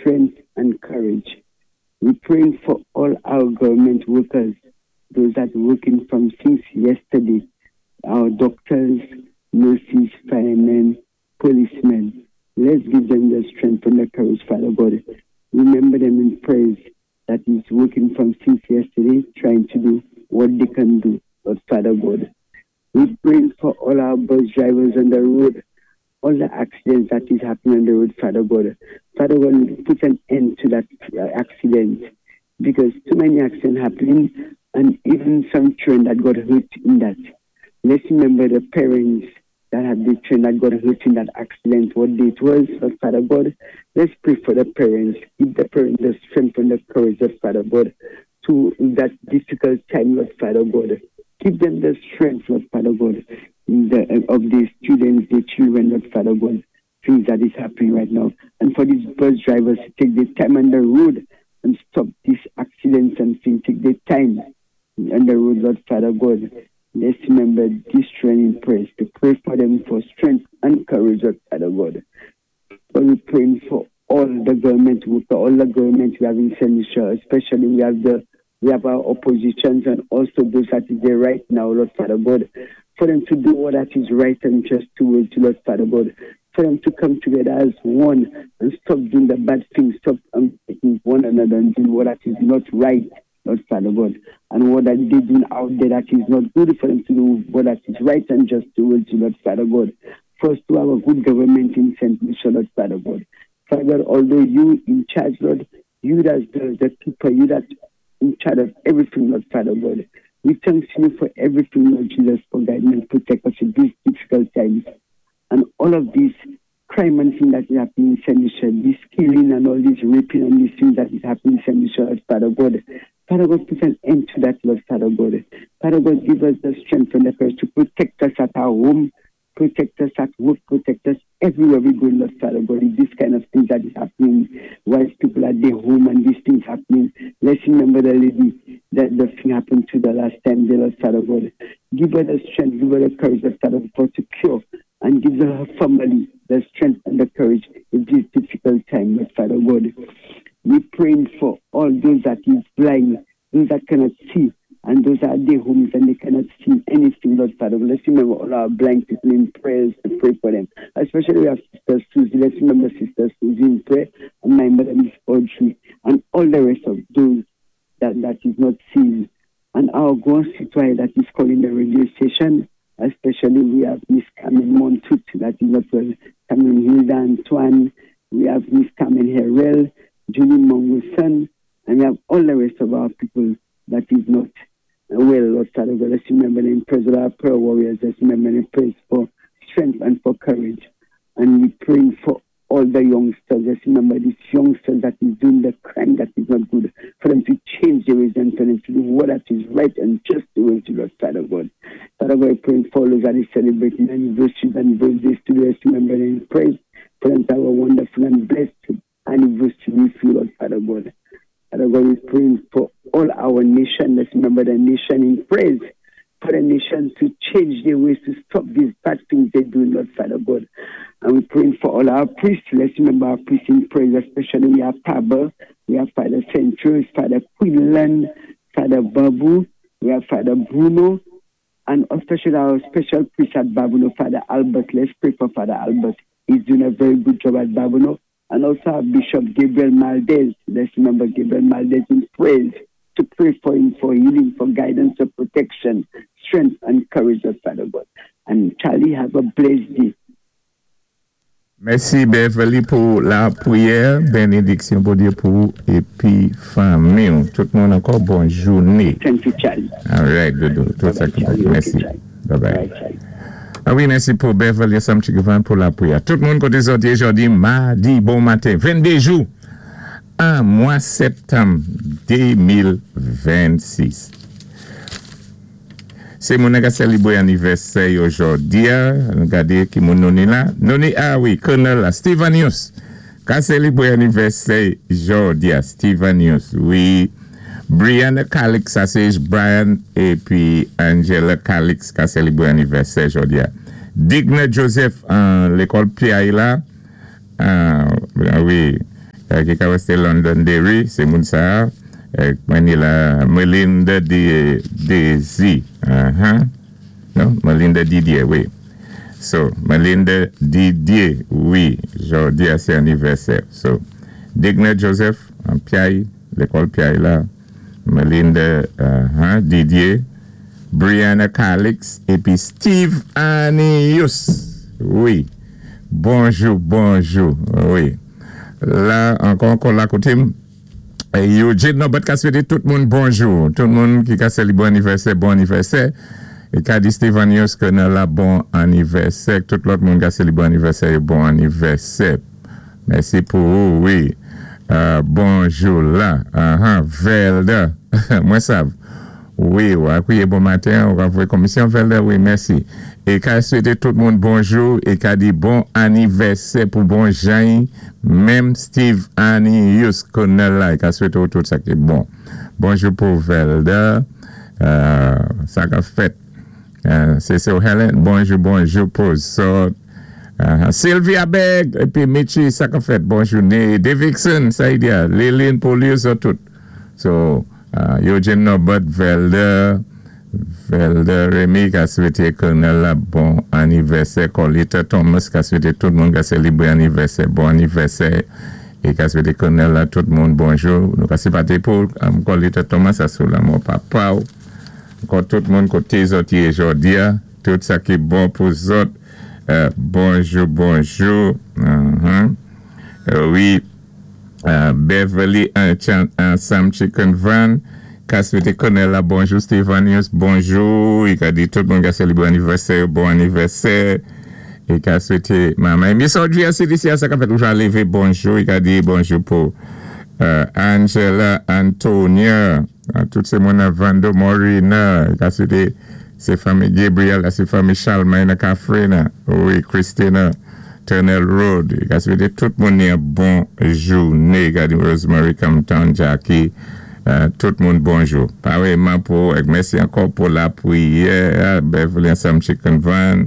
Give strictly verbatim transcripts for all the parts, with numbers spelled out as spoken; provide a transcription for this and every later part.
strength and courage. We're praying for all our government workers, those that working from since yesterday, our doctors, nurses, firemen, policemen. Let's give them the strength and the courage, Father God. Remember them in prayers that is working from since yesterday, trying to do what they can do, Lord Father God. We pray for all our bus drivers on the road, all the accidents that is happening on the road, Father God. Father God, put an end to that uh, accident because too many accidents happening and even some children that got hurt in that. Let's remember the parents that had the children that got hurt in that accident, what day it was, Lord Father God. Let's pray for the parents. Give the parents the strength and the courage, Lord Father God, to that difficult time, Lord Father God. Give them the strength, Lord Father God, in the, of the students, the children, Lord Father God, things that is happening right now. And for these bus drivers to take the time on the road and stop these accidents and things, take the time on the road, Lord Father God. Let's remember this training prayers to pray for them for strength and courage, Lord Father God. But we're praying for all the government workers, all the government we have in Saint Lucia, especially we have the we have our oppositions and also those that is there right now, Lord Father God, for them to do what that is right and just towards you, Lord Father God, for them to come together as one and stop doing the bad things, stop um, taking one another and doing what that is not right, Lord Father God, and what that they doing out there that is not good for them to do what that is right and just towards you, Lord Father God. First to have a good government in Saint Lucia, Lord Father God. Father God, although you in charge, Lord, you that's the, the keeper, you that in charge of everything, Lord Father God. We thank you for everything, Lord Jesus, for guiding and protect us in these difficult times. And all of these crime and things that is happening in Saint Lucia, this killing and all this raping and these things that is happening in Saint Lucia, Lord Father God. Father God, put an end to that, Lord Father God. Father God, give us the strength and the courage to protect us at our home, protect us at work, protect us everywhere we go, Lord Father God. This kind of things that is happening whilst people are at their home and these things happening. Let's remember the lady that the thing happened to the last time, the Lord Father God. Give her the strength, give her the courage, Lord Father God, to cure and give her family the strength and the courage in this difficult time, Lord Father God. We praying for all those that is blind, those that cannot see, and those that are at their homes and they cannot see anything, Lord Father. Let's remember all our blind people in prayers to pray for them. Especially we have Sister Susie. Let's remember Sister Susie in prayer and my mother, Miss Audrey, and all the rest of those that, that is not seen. And our grand citoyen that is calling the radio station, especially we have Miss Carmen Montut, that is not well, Carmen Hilda Antoine, we have Miss Carmen Herrell, Julie Mongoson, and we have all the rest of our people that is not well, Lord Father God. Let's remember them praise of our prayer warriors. Let's remember them praise for strength and for courage. And we praying for all the youngsters. Let's remember these youngsters that is doing the crime that is not good, for them to change their ways and for them to do what that is right and just the way to Lord Father God. Father God, praying for those that is celebrating anniversaries and birthdays today. Let's remember them praise for them to have a wonderful and blessed anniversary with you, Lord Father God. Father God, we're praying for all our nation. Let's remember the nation in praise. For the nation to change their ways, to stop these bad things they do, Lord Father God. And we're praying for all our priests. Let's remember our priests in praise, especially we have Pablo, we have Father Centros, Father Quinlan, Father Babu, we have Father Bruno, and especially our special priest at Babonneau, Father Albert. Let's pray for Father Albert. He's doing a very good job at Babonneau. And also our Bishop Gabriel Maldez. Let's remember Gabriel Maldez in praise, to pray for him for healing, for guidance, for protection, strength, and courage of Father God. And Charlie, have a blessed day. Mèsi Beverly pou lapriyè, bénédiksyon Bondyé pou épi fanmi. Tout moun ankò, bòn jounen. Thank you, Charlie. All right, doudou. Tout sa Bye-bye, Charlie. Mèsi. Okay, Charlie. Bye bye. Bye, Charlie. Ah wi, mèsi pou Beverly Samchigavan pou lapriyè. Tout moun koté sòti jòdi, madi, bon maten, vennde jou, an mwa septanm de mil vennsis. Sé moun ki sélébwé anivèsè jòdi, an gadé ki moun nou ni la. Nou ni, ah wi, Colonel la, Stevenius. Ka sélébwé anivèsè jòdi, Stevenius, wi. Brianna Calix, sa sé Brian, épi Angela Calix, ka sélébwé anivèsè jòdi. Digna Joseph, an lekòl P I la, ah, wi, Ki ka wété Londonderry, sé moun sa. Mwen ni la Melinda Daisy. Uh-huh. Non, Melinda Didier, wi. So, Melinda Didier, wi, jòdi a sé anivèsè. So, Digna Joseph, an Piaye, lékòl Piaye la. Melinda uh-huh, Didier, Brianna Calix, épi Steve Anius. Wi. Bonjou, bonjou. Wi. La, ankò, ankò la koté. Eugene Norbert ka swété tout moun bonjou. Tout moun ki ka sélibwé anivèsè, bon anivèsè. É ka di Stevanius ke nan la bon anivèsè. Tout lòt moun ka sélibwé anivèsè, bon anivèsè. Mèsi pou ou, wi. Euh, bonjou la. Uh-huh. Velda. Mwen sav. Wi, ou akwiyé bon maten, ou ravwé komisyon Velda, wi, mèsi. É ka swété tout moun bonjou, é ka di bon anivèsè pou bon Jean, menm Steve Anius konè la, é ka swété ou tout sa ki bon. Bonjou pou Velda, euh, sa ka fèt. Euh, sé sé Helen, bonjou, bonjou pou zòt. Uh, Sylvia Begg, épi Michi, sa ka fèt, bonjou. Davidson, sa y di, Lillian Polius, tout. So, uh, Eugene Norbert, Velda, Velda Remy ka swété Colonel la bon anivèsè, Colita Thomas ka swété tout moun ka sélibwé anivèsè, bon anivèsè, é ka swété Colonel la tout moun bonjou. Nou ka sinpaté pou um, Colita Thomas asou lanmò papa ou. Ankò tout moun koté zòt yé jòdi a, tout sa ki bon pou zòt. Euh, bonjou, bonjou. Uh-huh. Euh, wi, euh, Beverly un, Sam Chicken Van ka swété Colonel la bonjou, Stevanius, bonjou. I ka di tout moun ka sélibwé anivèsè, bon anivèsè. É ka swété manman. Miss Audrey C D C, sa ka fèt ou lévé, bonjou. I ka di bonjou pou euh, Angela Antonia, tout sé moun Vando Morina. I ka swété sé fanmi Gabriel, sé fanmi Charlemagne Cafrena, wi, Christina Tunnel Road. I ka swété tout moun yon bon jouné. I ka di Rosemary Compton, Jackie, euh, tout moun bonjou. Parèyman pou, é mèsi ankò pou lapriyè, Beverly Sam Chicken Van,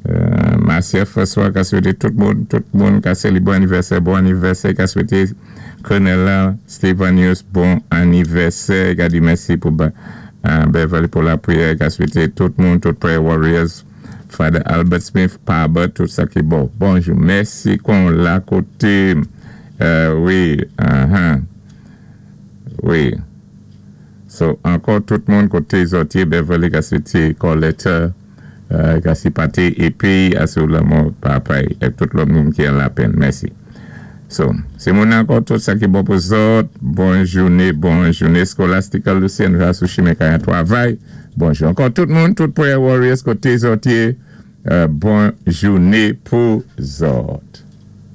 euh, Marcia François, ka swété tout moun, tout moun, ka sélibwé anivèsè, bon anivèsè, ka swété Colonel la, Stevanius, bon anivèsè, ka di mèsi pou Beverly pou lapriyè, ka swété tout moun, tout prayer warriors, Father Albert Smith, Pabert, tout sa ki bon. Bonjou, mèsi kon la koté, euh, wi, uh-huh, wi. So, ankò tout moun koté zòt yé, Beverly ka swété Colette, euh, ka sinpaté, épi asou lanmò papa, é tout lòt moun ki an lapenn, mèsi. So, sé moun ankò tout sa ki bon pou zòt, bon jouné, bon jouné, Scholastica Lucien, va sou chimen kay an twavay, bonjou. Ankò tout moun, tout prayer warriors koté zòt yé, euh, bon jouné pou zòt.